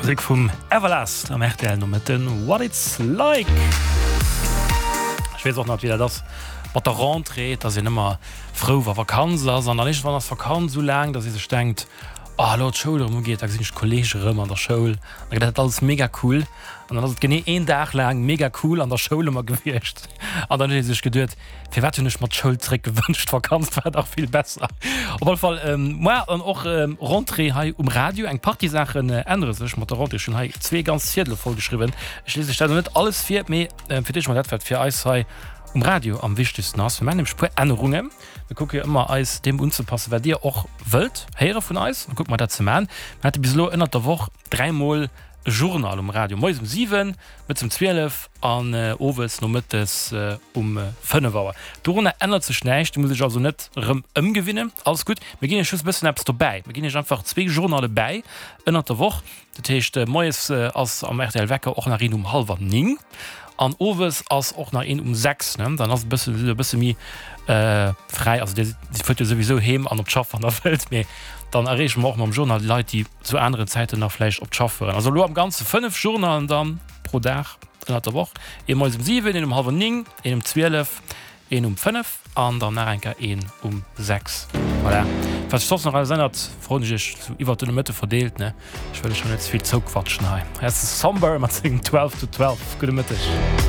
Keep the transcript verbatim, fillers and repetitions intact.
Musek vum Everlast am R T L Nomëtten, What It's Like. Ech weess och nach, wéi dat ass mat der Rentrée, et ass een ëmmer frou, wa Vakanz ass, an dann iergendwann ass d'Vakanz esou laang, dass ee sech denkt, Oh, elo d'Schoul erëm ugeet, da gesinn ech d'Kolleege erëm an der Schoul, da gëtt dat alles mega cool. An dann ass et genee een Dag laang mega cool an der Schoul ëmmer gewiescht an dann huet ee sech geduet, Firwat hunn ech mer d'Schoul zréck gewënscht, d'Vakanz war dach vill besser. Op alle Fall moar dann och Rentrée hei um Radio. Eng Partie Saachen ännere sech mat der Rentrée. Ech hunn hei zwee ganz Ziedele voll geschriwwen. Ech liese lech dat elo net alles vir, mee fir d'éischt mol dat, wat fir eis hei um Radio am wichtegsten ass. Mir maachen nämlech e puer Ännerungen. Mir kucke jo ëmmer eis deem unzepassen, wat dir och wëllt héiere vun eis. Da kucke mer dat ze maachen. Mir hate bis elo ënnert der Woch dräimol e Journal um Radio, moies um siwen, mëttes um zwielef an owes nomëttes um fënnef Auer. Dorunner ännert sech näischt, dir musst iech also net erëm ëmgewinnen. Alles gutt. Mir ginn iech just e bëssen eppes dobäi. Mir ginn iech einfach zwee Journale bäi ënnert der Woch. Dat heescht, moies ass am R T L Wecker och nach een um hallwer néng an owes ass och nach een um sechs. Dann ass e bësse, sidd der e bësse méi fräi. Also dir fuert jo souwisou heem an op d'Schaff, wann der wëllt, mee dann erreeche mer och mam Journal déi Leit, déi zu aneren Zäiten nach vläicht op d'Schaff fueren. Also elo am Ganze fënnef Journalen dann pro Dag ënnert der Woch, ee moies um siwen, een um hallwer néng, een um zwielef, een um fënnef an dann nach eng Kéier een um sechs. Voilà. Wat sech soss nach alles ännert, froen ech iech sou iwwert den Nomëtte verdeelt, ne? Ech wëll iech jo net ze vill zouquatschen hei. Hei ass de Somber mat sengem Twelve to Twelve. Gudde Mëtteg.